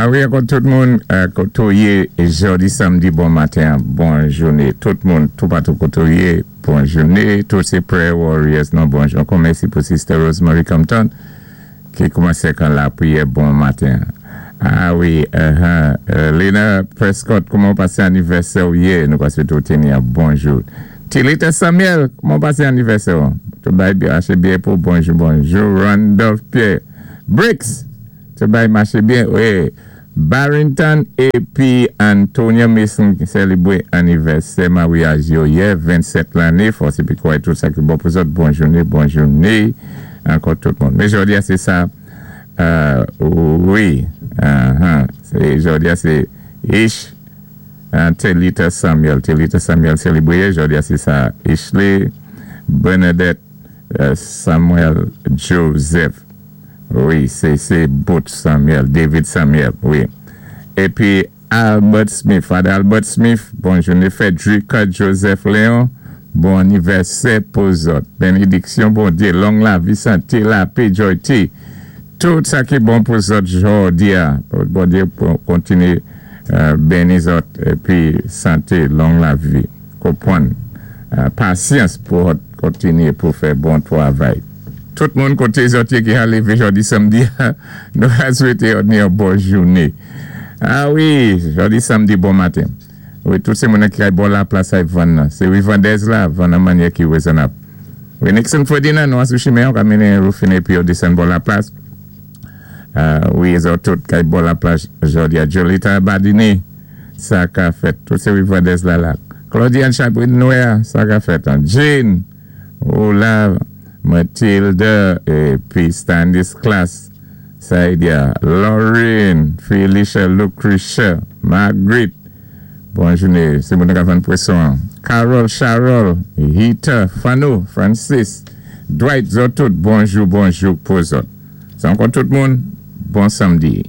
A wi, ankò tout moun, koté ou yé jòdi samdi, bon maten, bon jouné. Tout moun, toupatou koté ou yé, bon jouné. Tout sé prayer warriors, non, bonjou. Ankò mèsi pou Sister Rosemary Compton ki koumansé kan lapriyè bon maten. A wi, Lena Prescott, kouman ou pasé anivèsè ou yé? Nou ka swété ou téni yon bon jou. Tilita Samuel, kouman ou pasé anivèsè ou? Tout bagay byen, maché byen pou bonjou, bonjou. Randolph Pierre Briggs, tout bagay maché byen, wi. Barrington épi Antonia Mason ki sélébwé anivèsè maryaj yo yè, 27 lanné, fòs épi kouwè tout sa ki bon pou zòt, bon jouné, bon jouné, ankò tout moun. Men jòdi a sé sa, wi, sé jòdi a sé Ish Telita Samuel, Telita Samuel sélébwé yè, jòdi a sé sa Ishley Bernadette Samuel Joseph. Wi, sé Boot Samuel, David Samuel, wi. Épi Albert Smith, Father Albert Smith, bon jouné. Frederica Joseph Léon, bon anivèsè pou zòt. Bénédiksyon Bondyé, long lavi, santé, lapè, joy, tout sa ki bon pou zòt jòdi a. Bondyé kontiné béni zòt épi santé, long lavi, konpwann, pasyans pou kontiné pou fè bon twavay. Tout moun koté zòt yé ki ka lévé jòdi samdi, nou ka swété yon bon jouné. A wi, jòdi samdi bon maten. Wi, tout sé moun ki kay bò laplas ay vann nan. Sé Rivandez la, vann an mannyè ki wézonnab. Wi, Nixon Ferdinand, nou sou chimen, ka mennen Rufine épi yo désann bò laplas. Wi, zòt tout kay bò laplas jòdi a. Jolita Badini, sa ka fèt. Tout sé Rivandez la la. Claudiane Chabrin Noir, sa ka fèt. Jane, Ola, Matilda épi Stanislas, Saïdia, Lauren, Felicia, Lucretia, Margaret, bon jouné, sé moun ki vann pwason. Carol, Charol, Hita, Fano, Francis, Dwight, zòt tout, bonjou, bonjou pou zòt. Sé ankò tout moun, bon samdi.